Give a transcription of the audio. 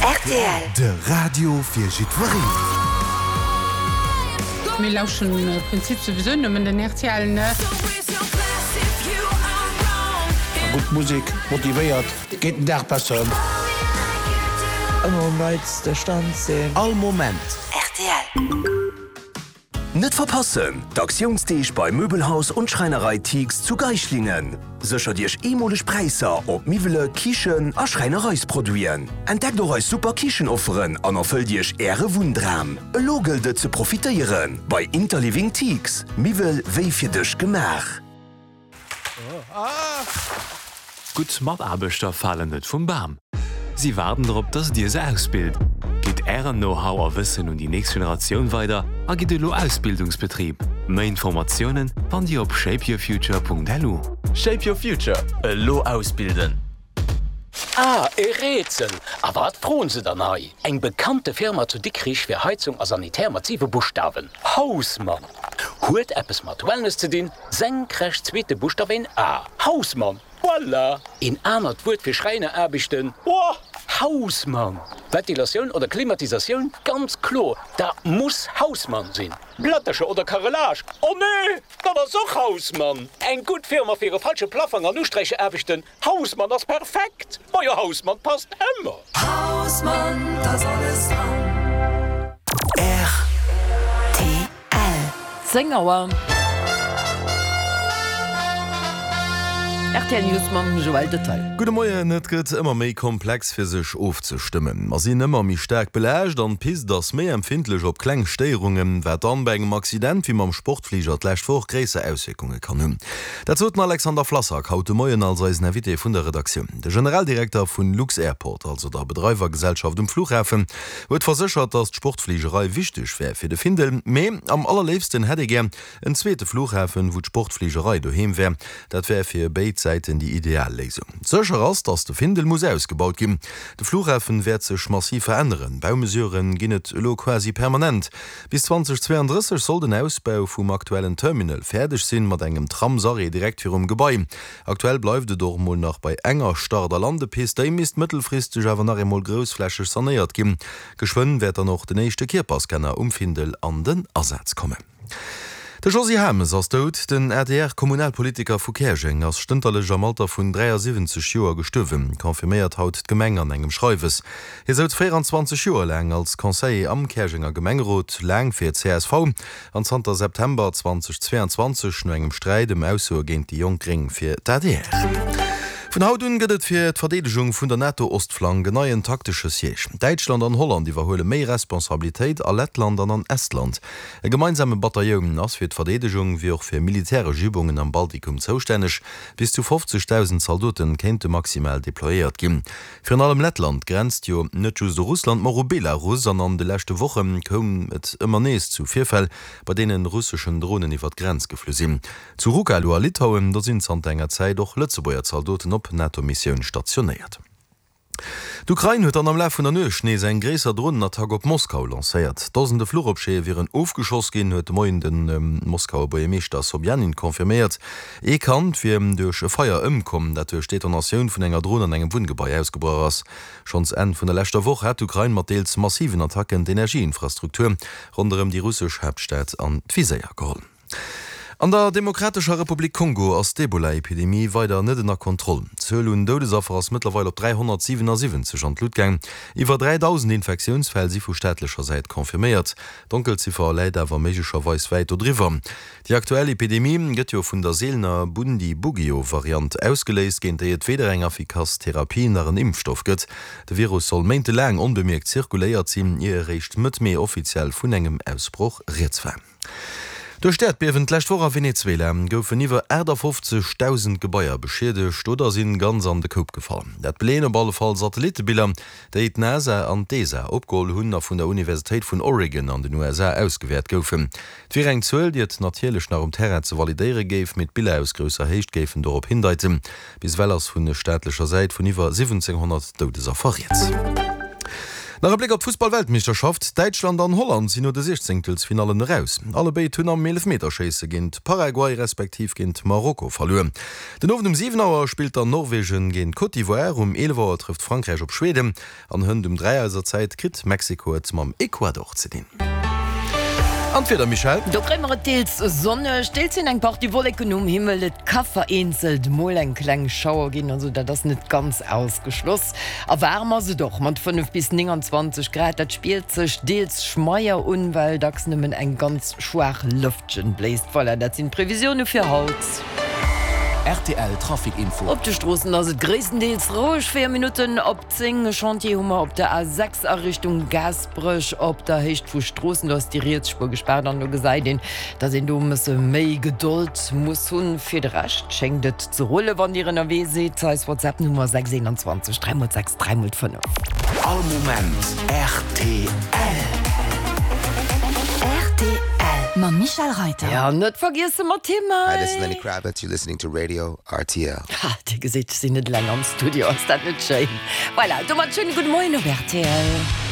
Rtl. De Radio fir jiddwereen. Mir lauschteren am Prinzip souwisou nëmmen den rtl, ne? Gutt Musek motivéiert, geet den Dag besser ëm. Ëmmer um neitste Stand sinn. All Moment. Rtl. Net verpassen, D'Aktiounsdeeg bei Möbelhaus und Schreinerei Thix zu Geislingen. Séchert Iech eemoleg Präisser op Miwwele, Kichen a Schräinereisproduiten. Entdeckt och eis super Kichenofferen an erfëllt Iech Äre Wunndram. Elo gëllt et ze profitéieren bei Interliving Thix, Miwwel wéi fir dech gemaach. Gutt Mataarbechter falen net vum Bam. Si waarden drop, dass dir se ausbilt. Gitt ären Know-how a Wëssen un déi nächst Generatioun weider a gitt elo Ausbildungsbetrib. Méi Informatiounen fannt dir op shapeyourfuture.lu. Shape your future, elo ausbilden! Ah, e Rätsel! A wat froen se dann hei? Eng bekannte Firma zu Dikrich fir Heizung a Sanitär mat siwe Buschtawen, Hausmann! Huet eppes mat Wellness ze dinn, senkrecht zweete Buschtaf een A, Hausmann! Voilà! Een anert Wuert fir Schräineraarbechten, oh, Hausmann! Ventilatioun oder Klimatisatioun, ganz kloer, dat muss Hausmann sinn! Plättercher oder Carrelage, oh nee, dat ass och Hausmann! Eng gutt Firma fir e falsche Plaffong an Usträicheraarbechten, Hausmann ass perfekt! Majo Hausmann passt ëmmer! Hausmann, t'ass alles dran. Rtl. 10 Auer. Rtl News mam Joël Detail. Gudde Moien, Et gëtt ëmmer méi komplex fir sech ofzestëmmen. Mer sinn ëmmer méi staark belaascht an d'Pist ass méi empfindlech op kleng Stéierungen, wat dann bei engem Accident wéi mam Sportfliger d'lescht Woch gréisser Auswierkunge kann hunn. Dat sot den Alexander Flassak haut de Moien als eisen Invité vun der Redaktioun. De Generaldirekter vun lux-Airport, also der Bedreiwergesellschaft um Flughafen, huet verséchert, datt d'Sportfligerei wichteg wär fir de Findel. Mee am allerléifsten hätt ee gär en zweete Flughafen, wou d'Sportfligerei doheem wär. Dat wär fir béid Säiten déi ideal Léisung. Sécher ass, datt de Findel muss ausgebaut ginn. De Flughafen wäert sech massiv veränneren. Baumesurë ginn et elo quasi permanent. Bis 2032 soll den Ausbau vum aktuellen Terminal fäerdeg sinn, mat engem Tramsarrêt direkt virum Gebai. Aktuell bleift et och emol nach bei enger Start a Landepist, déi misst mëttelfristeg awer nach eemol groussflächeg sanéiert ginn. Geschwënn wäert dann och den éischte Kierperscanner um Findel an den Asaz kommen. De Josy Hames ass dout. Den ADR-Kommunalpolitiker vu Käerjeng ass stënterlech am Alter vun 73 Joer gestuerwen, confirméiert haut d'Gemeng an engem Schreiwes. Hie souz 24 Joer laang als Conseiller am Käerjenger Gemengerot, laang fir csv an zanter September 2022, no engem Sträit ëm Aussoe géint déi jonk Gréng, fir d'ADR. Vun haut un gëtt et fir d'Verdeedegung vun der NATO-Ostflank en neien taktesche Siège. Däitschland an Holland iwwerhuele méi Responsabilitéit a Lettland an an Estland. E gemeinsame Batailloun ass fir d'Verdeedegung wéi och fir militäresch Übungen am Baltikum zoustänneg. Bis zu 50.000 Zaldote kéinte maximal deployéiert ginn. Virun allem Lettland grenzt jo net just u Russland, ma och u Belarus an an de leschte Woche koum et ëmmer nees zu Virfäll, bei deene russeschen Dronen iwwer d'Grenz geflu sinn. Zu Rukalo a Litauen, do sinn zanter enger Zäit och Lëtzebuerger Zaldoten op NATO-Missioun stationéiert. D'Ukrain huet dann am Laf vun der Nuecht nees eng gréisser Dronenattack op Moskau lancéiert. Dosende Fluchobjete wieren ofgeschoss ginn, huet de Moien de Moskauer Buergermeeschter Sobjanin confirméiert. Ee Kand wier duerch e Feier ëmkomm, dat duerch d'Detonatioun vun enger Dron an engem Wunngebai ausgebrach ass. Schonns Enn vun der leschter Woch hat d'Ukrain mat deels massiven Attacken d'Energieinfrastruktur ronderëm déi russesch Haaptstad an d'Viséier geholl. An der Demokratescher Republik Kongo ass d'Ebola-Epidemie weider net ënner Kontroll. D'Zuel un Doudesaffer ass mëttlerweil op 377 an d'Lut gaang. Iwwer 3.000 Infektiounsfäll si vu staatlecher Säit confirméiert. D'Donkelziffer läit awer méiglecherweis wäit dodriwwer. Déi aktuell Epidemie gëtt jo vun der seelener Bundibugyo-Variant ausgeléist, géint déi et weder eng affikass Therapie nach en Impfstoff gëtt. De Virus soll méintelaang onbemierkt zirkuléiert sinn, ier eréischt Mëtt Mee offiziell vun engem Ausbroch rieds war. Duerch d'Äerdbiewen d'lescht Woch a Venezuela goufen iwwer 58.000 Gebaier beschiedegt oder sinn ganz an de Koup gefall. Dat beleeën op alle Fall Satellittebiller, déi d'NASA an d'ESA opgeholl hunn a vun der Universitéit vun Oregon an den USA ausgewäert goufen. Et wier eng Zuel, déi et natierlech nach um Terrain ze validéiere géif, mee d'Biller aus grousser Héicht géifen dorop hindeiten. Bis ewell ass vu staatlecher Säit vun iwwer 1.700 Doudesaffer rieds. Nach e Bléck op d'Fussball-Weltmeeschterschaft, Däitschland an Holland sinn no de Siechzéngtelsfinallen eraus. Allebéid hunn am Eelefmeterschéisse géint Paraguay respektiv géint Marokko verluer. Den Owend um 7 Auer spillt dann Norwegen géint Côte d'Ivoire, um 11 Auer trëfft Frankräich op Schweden an hënt um 3 eiser Zäit kritt Mexiko et mam Ecuador ze dinn. An d'Wieder, Michèle? Do kréie mer et deels sonneg, deels sinn eng Partie Wolleken um Himmel. Et ka vereenzelt mol eng kleng Schauer ginn, also dat ass net ganz ausgeschloss. A waarm ass et och mat 5 bis 29 Grad. Dat spiert sech deels schmeier un, well dacks nëmmen eng ganz schwaach Lëftchen bléist. Voilà, dat sinn d'Previsioune fir haut. Rtl Trafic Info. Op de Stroossen ass et gréisstendeels roueg. 4 Minutten op 10, e Chantier hu mer op der A6 a Richtung Gaasperech op der Héicht vu Stroossen. Do ass déi riets Spuer gespaart an do gesäit een, dass een do e mësse méi Gedold muss hunn. Fir de Rescht schéngt et ze rullen, wann Dir ënnerwee sidd. Eis WhatsApp-Nummer 6 21 3 x 6 3 x 5. All Moment rtl. Rtl mam Michèle Reyter. Ja, net vergiessen mat him Hi, this is Lenny hei. Kravitz, you're listening to Radio rtl. Ha, dir gesitt, ech sinn net eleng am Studio, ass dat net schéin? Voilà, domat schéine gudde Moien op rtl.